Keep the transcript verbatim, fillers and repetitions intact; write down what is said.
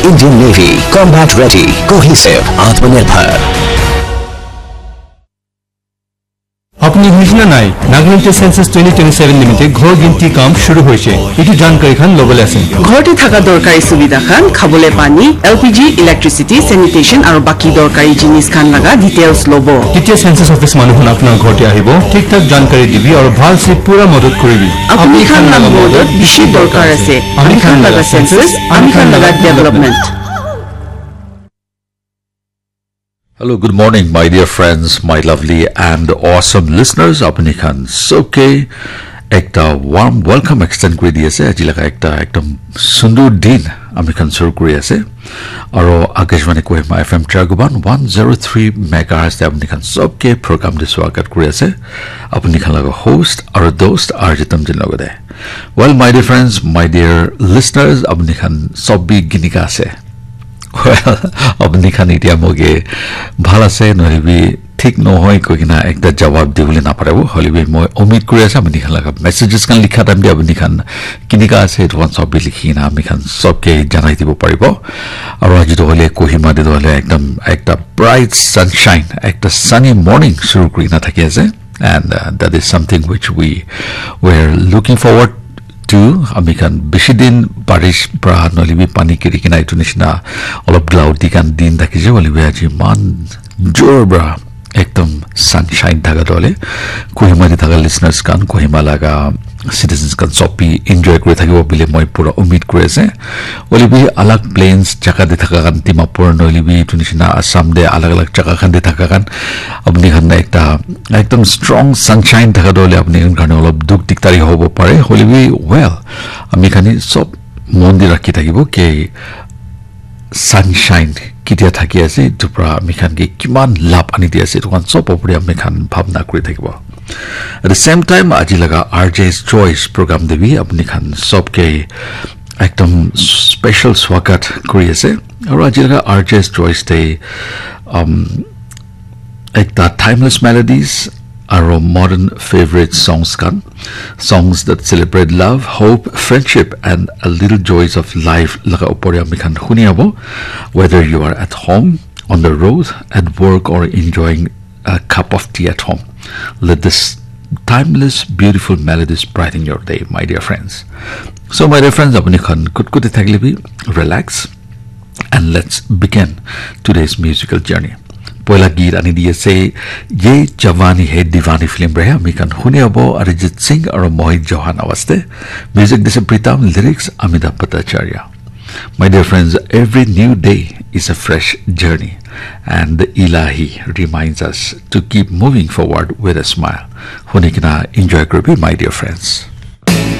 Indian Navy, combat ready, cohesive, Atmanirbhar. আপুনি শুনিছেনে নাই? নাগালেণ্ডে চেন্সাছ টুৱেণ্টি টুৱেণ্টি ছেভেন নিমিত্তে ঘৰ গিনতি কাম শুৰু হৈছে। এইটো জানকাৰী খান ল'বলৈ আছে। ঘৰতে থকা দৰকাৰী সুবিধা খান, খাবলৈ পানী, এল পি জি, ইলেক্ট্ৰিচিটি, চেনিটেশ্যন আৰু বাকী দৰকাৰী জিনিছ খান লগা ডিটেইলছ ল'ব। কেতিয়া চেন্সাছ অফিচ মানুহখন আপোনাৰ ঘৰতে আহিব, ঠিক ঠাক জানকাৰী দিবি আৰু ভালছে পুৰা মদত কৰিবি। আপুনি খান লগা মদত বেছি দৰকাৰ আছে। আমি খান লগা চেন্সাছ, আমি খান লগা ডেভেলপমেণ্ট। Hello, good morning, my dear friends, my lovely and awesome listeners. Apuni khan sobke ekta warm welcome extend kuri di ase. Aji laga ekta ekdom sundur din ami khan shuru kuri ase. Aro Akashvani Kohima F M Chairguban one zero three megahertz te apuni khan sobke program te swagat kuri ase. Apuni khan laga host aro dost R J Tamjin logode. Well, my dear friends, my dear listeners, apuni khan sob bi ginika ase. Well, apuni khan itia moge bhal ase nohoi bi thik nohoi koi kina ekta jawab dibole naparibo. Hoile bi moi umid kuri ase apuni khan laga messages khan likha time te apuni khan kinika ase etu khan sob bi likhi kina ami khan sobke janai dibo paribo. Aro aji to hoile Kohima te to hoile ekdam ekta bright sunshine, ekta sunny morning shuru kuri kina thaki ase. And uh, that is something which we were looking forward to. Ami khan bishi din barish pra nohole bi pani giri kina etu nishina olop cloudy khan din thakise hoile bi aji iman jor pra ekdom sunshine thaka toh hoile Kohima te thaka listeners khan, Kohima laga citizens khan sob bi enjoy kuri thakibo bole moi pura umid kuri ase. Hoile bi alag plains jaga te thaka khan, Dimapur nohole bi etu nishina Assam te alag alag jaga khan te thaka khan, apni khan ekta ekdom strong sunshine thaka toh hoile apni khan karne olop dukh dikdari hobo pare. Hoile bi well, ami khan hi sob mon te rakhi thakibo ki sunshine ketia thaki ase, etu pra ami khan ke kiman labh ani di ase, etu khan sob opor te ami khan bhabna kuri thakibo. At the same time, aji laga R J's Choice program te bi apni khan sob ke ekdom special swagat kuri ase. Aru aji laga R J's Choice te um, ekta timeless melodies aru modern favorite songs khan, songs that celebrate love, hope, friendship and a little joys of life laga opor te ami khan huni abo. Whether you are at home, on the road, at work or enjoying a cup of tea at home, let this timeless beautiful melodies brighten your day, my dear friends. So my dear friends, apuni khan kut kut thakile bi relax and let's begin today's musical journey. Poila geet ani di ase Ye Jawani Hai Diwani film reha, ami khan huni abo Arijit Singh aru Mohit Chauhan awaz te. Music dise Pritam, lyrics Amitabh Bhattacharya. My dear friends, every new day is a fresh journey and the Ilahi reminds us to keep moving forward with a smile. Huni kina enjoy kuri bi, my dear friends.